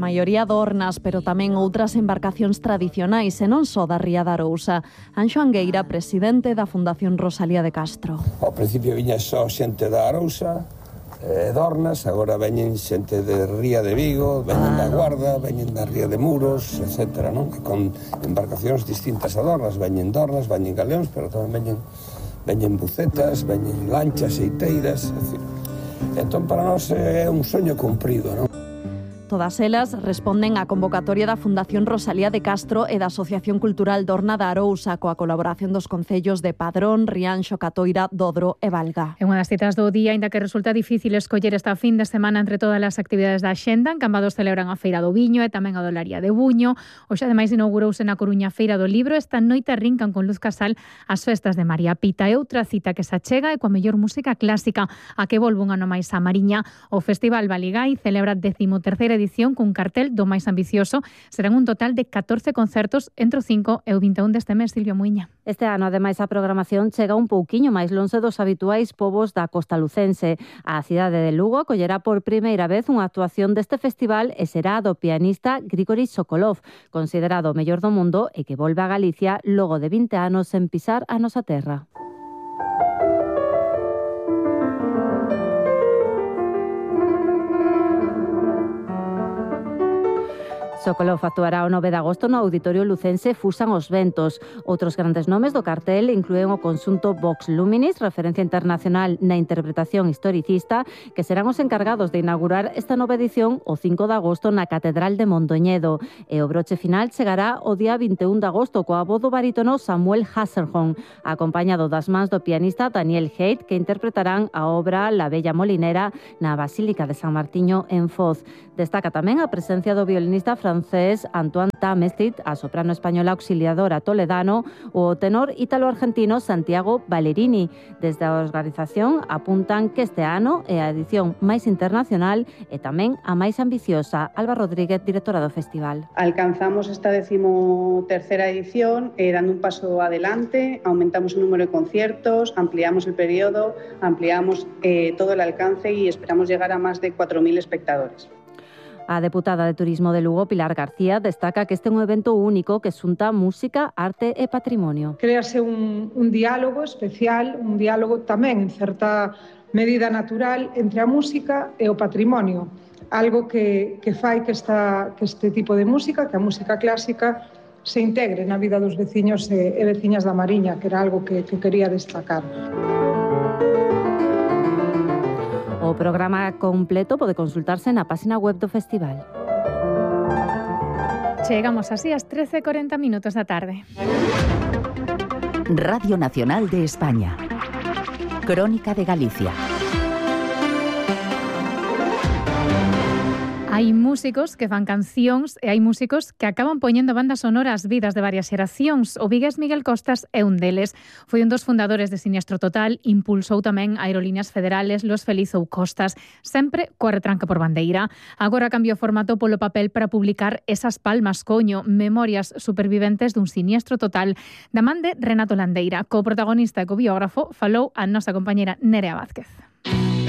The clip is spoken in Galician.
maioría dornas, pero tamén outras embarcacións tradicionais e non só da ría da Arousa. Anxo Angueira, presidente da Fundación Rosalía de Castro. Ao principio viña só xente da Arousa, dornas, agora veñen xente de Ría de Vigo, veñen da Guarda, veñen da Ría de Muros, etc., non? Con embarcacións distintas a dornas, veñen galeóns, pero tamén veñen bucetas, veñen lanchas, eiteiras, etc. Entón, para nós é un soño cumprido, non? Todas elas responden á convocatoria da Fundación Rosalía de Castro e da Asociación Cultural Dorna da Arousa coa colaboración dos concellos de Padrón, Rianxo, Catoira, Dodro e Valga. É unha das citas do día, aínda que resulta difícil escoller esta fin de semana entre todas as actividades da axenda. En Cambados celebran a Feira do Viño e tamén a Dolaría de Buño. Hoxe, ademais, inaugurouse na Coruña a Feira do Libro. Esta noite arrincan con Luz Casal as festas de María Pita. E outra cita que se achega é coa mellor música clásica, a que volve un ano máis a Mariña. O Festival Baligái celebra a 13ª edición cun cartel do máis ambicioso. Serán un total de 14 concertos entre o 5 e o 21 deste mes, Silvia Muiña. Este ano, ademais, a programación chega un pouquiño máis lonxe dos habituais povos da costa lucense. A cidade de Lugo acollerá por primeira vez unha actuación deste festival e será do pianista Grigori Sokolov, considerado o mellor do mundo e que volve a Galicia logo de 20 anos sen pisar a nosa terra. Sokolov actuará o 9 de agosto no Auditorio Lucense Fusan os Ventos. Outros grandes nomes do cartel inclúen o conxunto Vox Luminis, referencia internacional na interpretación historicista, que serán os encargados de inaugurar esta nova edición o 5 de agosto na Catedral de Mondoñedo. E o broche final chegará o día 21 de agosto coa voz do barítono Samuel Hasselholm, acompañado das mans do pianista Daniel Haidt, que interpretarán a obra La Bella Molinera na Basílica de San Martiño en Foz. Destaca tamén a presencia do violinista francés Antoine Tamestit, a soprano española auxiliadora toledano, o tenor ítalo-argentino Santiago Ballerini. Desde a organización apuntan que este ano é a edición máis internacional e tamén a máis ambiciosa. Alba Rodríguez, directora do festival. Alcanzamos esta 13ª edición dando un paso adelante, aumentamos o número de conciertos, ampliamos el periodo, ampliamos todo el alcance y esperamos llegar a más de 4.000 espectadores. A deputada de Turismo de Lugo, Pilar García, destaca que este é un evento único que xunta música, arte e patrimonio. Créase un diálogo especial, un diálogo tamén en certa medida natural entre a música e o patrimonio. Algo que fai que este tipo de música, que a música clásica, se integre na vida dos veciños e veciñas da Mariña, que era algo que quería destacar. O programa completo pode consultarse na página web do festival. Chegamos así ás 13:40 da tarde. Radio Nacional de España. Crónica de Galicia. Hai músicos que fan cancións e hai músicos que acaban poñendo bandas sonoras ás vidas de varias xeracións. O vigués Miguel Costas é un deles. Foi un dos fundadores de Siniestro Total, impulsou tamén Aerolíneas Federales, Los Feliz ou Costas, sempre coa retranca por bandeira. Agora cambiou o formato polo papel para publicar Esas palmas, coño, memorias superviventes dun siniestro total, da man de Renato Landeira. Co protagonista e co biógrafo falou a nosa compañera Nerea Vázquez.